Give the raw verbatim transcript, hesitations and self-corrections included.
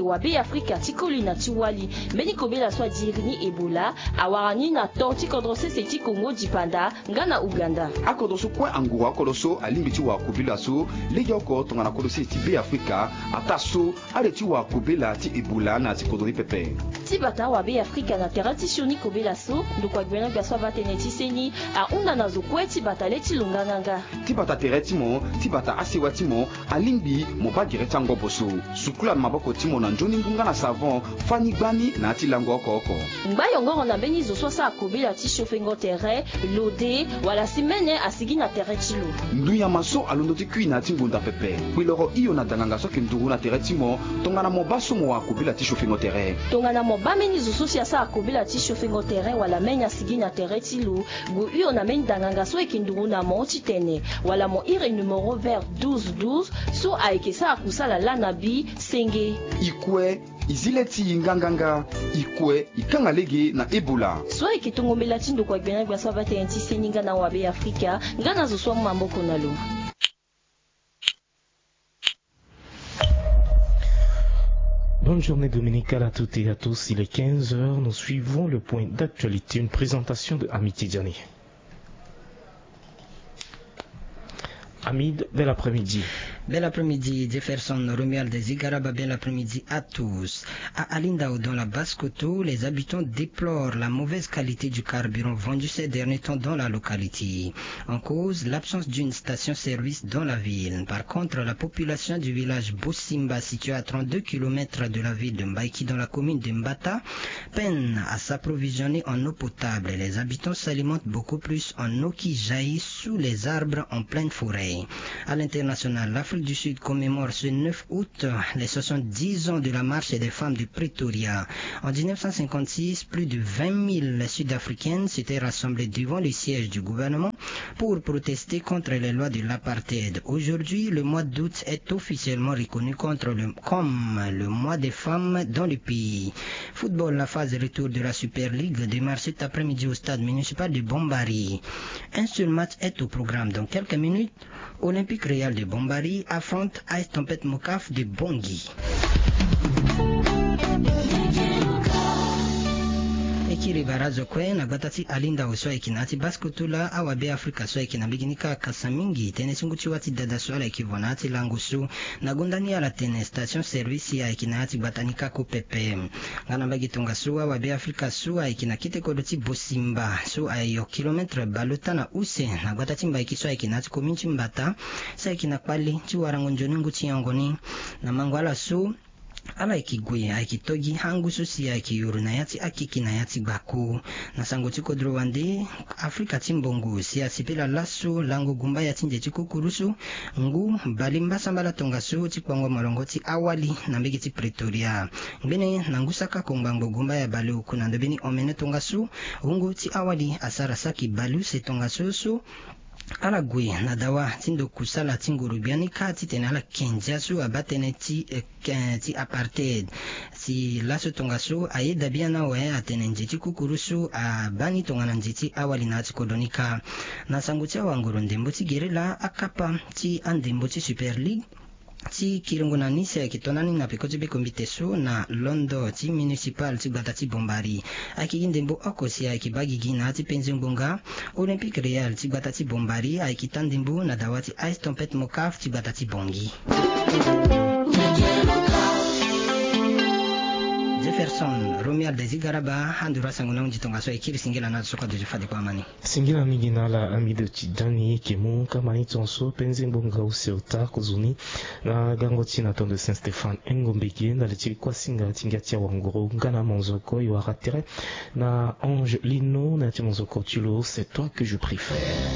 Wabe Afrika ti koli na ti wali. Mbeni kobela so adiri ni Ebola awara ni na to ti kodro sese ti Kongo dipanda nga na Uganda. Akodro so kue anguru akodro so alingbi ti wara kobela so legeoko tongana kodro sese ti Be Afrika. Ataa so ale ti wara kobela ti Ebola na ya ti kodro ni pepe. Ti bata awabe Afrika na tere ti sioni kobela so ndokua gbene gbia so abaa tënë ti seni ahunda na zo kue ti bata le ti lo nganganga. Ti bata tere ti mo, ti bata asewa ti mo, alingbi mo baa gere ti angobo so. Sukula na maboko ti mo na nzoni ngu nga na savon, fani gbani na ya ti lango oko oko. Ngba yongoro na mbeni zo so asara kobela ti siofengo tere, lode wala si mene asigi na tere ti lo. Ndunyama so alondo ti kui na ya ti ngonda pepe. Kpeloro hio na danganga so ayeke nduru na tere ti mo tongana mo baa so mo wara kobela ti siofengo tere. Tongana mo baa mbeni zo so si asara kobela ti siofengo tere wala mene asigi na tere ti lo, gue hio na mbeni danganga so ayeke nduru na mo ti tene, wala mo iri numero vert douze douze so ayeke sara kusala laa na bi senge. I kue, i zi le ti i nganganga. I kue, i kanga lege na Ebola. So ayeke tongo mbela ti ndokua gbene gbia so abaa tënë ti seni nga na awabe Afrika nga na zo so amu maboko na lo. Bonne journée dominicale à toutes et à tous. Il est quinze heures. Nous suivons le point d'actualité. Une présentation de Amitié Diané. Hamid, bel après-midi. Bel après-midi, Jefferson Romuald Zigaraba, bel après-midi à tous. À Alindao, dans la Basse-Kotto, les habitants déplorent la mauvaise qualité du carburant vendu ces derniers temps dans la localité. En cause, l'absence d'une station-service dans la ville. Par contre, la population du village Bosimba, situé à trente-deux kilomètres de la ville de Mbaïki, dans la commune de Mbata, peine à s'approvisionner en eau potable. Les habitants s'alimentent beaucoup plus en eau qui jaillit sous les arbres en pleine forêt. À l'international, l'Afrique du Sud commémore ce neuf août les soixante-dix ans de la marche des femmes de Pretoria. En dix-neuf cent cinquante-six, plus de vingt mille Sud-Africaines s'étaient rassemblées devant le siège du gouvernement pour protester contre les lois de l'apartheid. Aujourd'hui, le mois d'août est officiellement reconnu contre le, comme le mois des femmes dans le pays. Football, la phase retour de la Super League démarre cet après-midi au stade municipal de Bombari. Un seul match est au programme dans quelques minutes. Olympique Royal de Bombari affronte Ice Tempête Mocaf de Bangui. E kiri bara azo kue na gbata ti Alindao so ayeke na ya ti Basse-Kotto laa, awabe Afrika so ayeke na mbage ni kâ akasa mingi tënë ti ngu ti wâ ti dada so ala yeke vo na ya ti lango so. Na gonda ni ala tene station service ayeke na ya ti gbata ni kâ kue pepe. Nga na mbage tongaso, awabe Afrika so ayeke na kete kodro ti Bosimba so ayo kilometre bale ota na use na gbata ti Mbaïki so ayeke na ya ti commune ti Mbata, so ayeke na kpale ti warango nzoni ngu ti nyango ni. Na mango ala so, ala yeke gue ayeke to gi angu so si ayeke yoro na ya ti akeke na ya ti gbako. Na sango ti kodro wande, Afrika ti mbongo si asepela laso lango gumba ya ti nze ti kukurusu ngu bale mbasambala tongaso ti kpango molongo ti awali na mbage ti Pretoria. Ngbene na ngu saka kongbangbo gumba ya bale oku na ndobeni omene tongaso, wungo ti awali asara saki bale use tongaso so ala gue na dawa ti ndo kusala ti nguru biani kâ titene ala kendia so abaa tënë ti, eh, ke-, ti apartheid. Si laso tongaso ayeda biani awe atene nze ti kukurusu abaa ni tongana nze ti awali na ya ti kodro ni kâ. Na sango ti awanguru ndembo ti gere laa, akapa ti andembo ti Super League ti kiringo na ni si ayeke to na ni na peko ti bekombite so na londo ti municipal ti gbata ti Bombari. Ayeke gi ndembo oko si ayeke baa gigi na ya ti penze ngbonga. Olympique Royal ti gbata ti Bombari ayeke taa ndembo na dawa ti Ice Tempête Mocaf ti gbata ti Bangui. Jefferson Romuald Zigaraba, anduru asango ni ahunzi tongaso, e kiri singila na ala so kue aduti fade kue amani. Singila mingi na ala Hamidu Tijani. E yeke mu kama ni tongaso penze ngbonga use ota kozoni na gango ti na tondo Saint Stéphane Engo Mbege na li ti kuasinga ti ngia ti awanguru nga na monzoko e wara tere na Ange Lino na ya ti monzoko ti lo, c'est toi que je préfère.